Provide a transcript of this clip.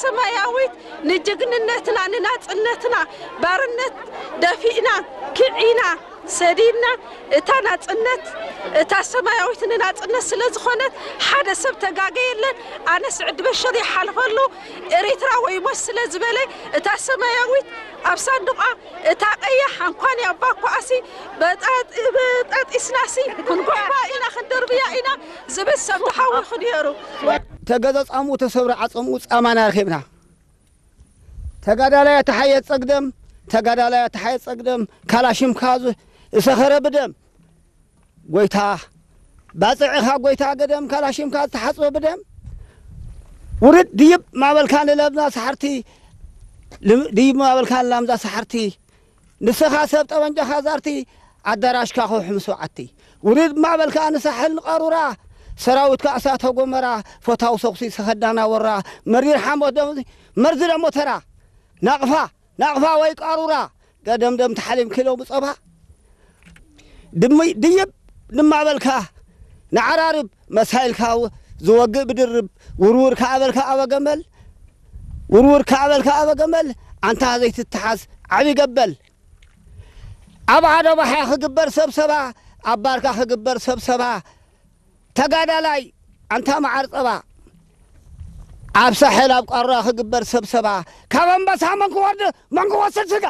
ሰማያዊት ንጅግንነትና፣ ንናጽነትና፣ ባርነት ደፊእና፣ ክዒና፣ ሰዲድና፣ እታ ናጽነት፣ እታ ሰማያዊት ንናጽነት ስለ ዝኾነት፣ ሓደ ሰብ ተጋገየለን። ኣነ ስዕዲ በሽር ይሓልፈሉ፣ ኤሪትራ ወይ ሞት ስለ ዝበለ፣ እታ ሰማያዊት ኣብ ሳንዱቓ፣ እታ ቀያሕ እንኳን ያባ ኳኣሲ በጣጢ-፣ በጣጢስናሲ ክንጎባ ኢና፣ ክንድርብያ ኢና ዝብል ሰብ ተሓዊኹ ነይሩ። ተገዘ ጻምኡ ተሰብረ ዓጸምኡ ጻማና ረኺብና። ተጋዳላይ ኣተሓየ ጸግደም፣ ተጋዳላይ ኣተሓየ ጸግደም፣ ካላሽምካ ዝ-፣ ዝሰኸረ ብደም። ጎይታ፣ ባጽዕኻ ጎይታ ገደም፣ ካላሽምካ ዝተሓጽበ ብደም። ውርድ ድይብ ማበልካ ንለምዛ ሳሕርቲ፣ ልም-፣ ድይብ ማበልካ ንላምዛ ሳሕርቲ። ንስኻ ሰብ ጠበንጃኻ ዛርቲ፣ ኣዳራሽካ ከውሒ ምስ በዓቲ። ውርድ ማበልካ ንሳሕል ንቐሩራ፣ ሰራዊትካ እሳተ ጎመራ፣ ፈታው ሰኹሲ ሰኸዳና ወራ፣ መሪር ሓሞት ደም፣ መርዚ ደሞ ተራ። ናቕፋ፣ ናቕፋ ወይ ቃሩራ፣ ገደምደም ተሓሊም ኪሎ ብጸባ። ድሚ-፣ ድይብ ድማ በልካ፣ ንዓራርብ መሳይልካ ው-፣ ዝወግእ ብድርብ፣ ውርውር ከኣ በልካ ኣበ ገመል፣ ውርውር ከኣ በልካ ኣበ ገመል፣ ኣንታ ዘይትተሓዝ ዓቢ ገበል። ኣብ ዓደ ባሕያ ክግበር ሰብሰባ፣ ኣብ ባርካ ክግበር ሰብሰባ፣ ተጋዳላይ ኣንታ መዓር ጸባ፣ ኣብ ሳሕል ኣብ ቃሩራ ክግበር ሰብሰባ፣ ካብ ኣንበሳ መን ክወርድ መን ክወስድ ስጋ።